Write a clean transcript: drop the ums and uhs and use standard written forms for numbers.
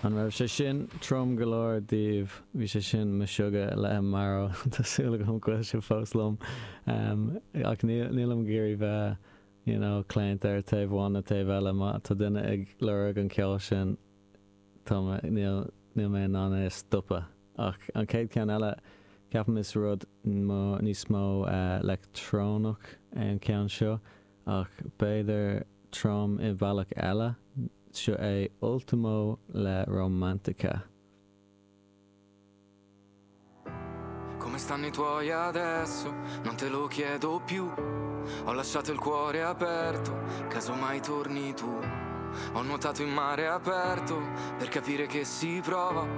An raibh sé sin trom go leor daoibh? Bhí sé sin Meshuggah le Imaro. Tá súil agam go bhfuil sibh fós liom. Ach nílim ag iarraidh bheith, you know, claonta ar taobh amháin nó taobh eile. Má tá duine ag lorg an ceol sin, tá mé, níl, níl mé in ann é a stopadh. Ach an chéad cheann eile, ceapaim is rud níos mó leictreonach é an ceann seo. Ach b'fhéidir trom i bhealach eile, seo é Ultimo le Romantica. Come stanno i tuoi adesso? Non te lo chiedo più. Ho lasciato il cuore aperto, caso mai torni tu. Ho nuotato in mare aperto per capire che si prova.